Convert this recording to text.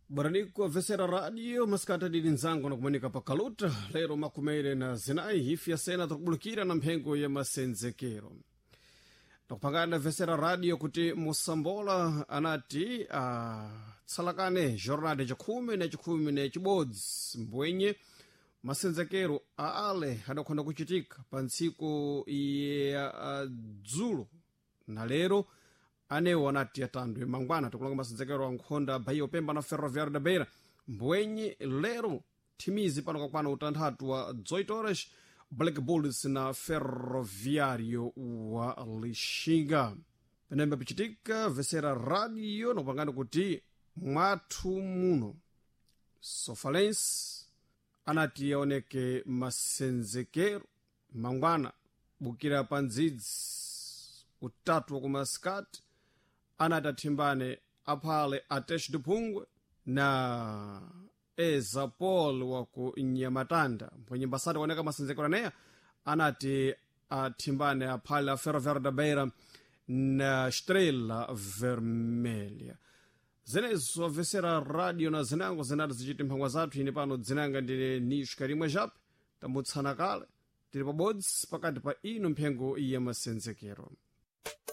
Bwaraniko vesera radio masikati dili nzango nakumanika pakaluta lero makumere na zinayi hifi ya sena takubulukira na mphengo ya masenzekero nakupangana vesera radio kuti musambola anati tsalakane jornada chakhumi na chikhumi na chibodzi mbwenye masenzekero a ale adakhonda kuchitika pa ntsiku ya dzulo na lero anewo anati atandwe mangwana tikulonga masenzekero a nkhonda bahia upemba na ferroviário da beira mbwenye lero thimizi pano kakwana utanthatu wa 18 horas black bulls na ferroviário wa lixinga penembe pichitika vesera radio nakupangana kuti mwathu muno sofalense anati yaoneke masenzekero mangwana bukira pa ndzidzi utatu wa kumasikati anati athimbane aphale atesh duphungwe na eza paul wa ku nyamatanda mpwenye mbasati kuoneka masenzekero aneya anati athimbane aphale a ferroviário da beira na estrela vermelha zenezo vesera radio na zinango zinati zichiti mphangwa zathu ine pano dzinanga ndine nish karimwe jape tambutsana kale tili pabodzi pakati pa ino mphengo ya masenzekero.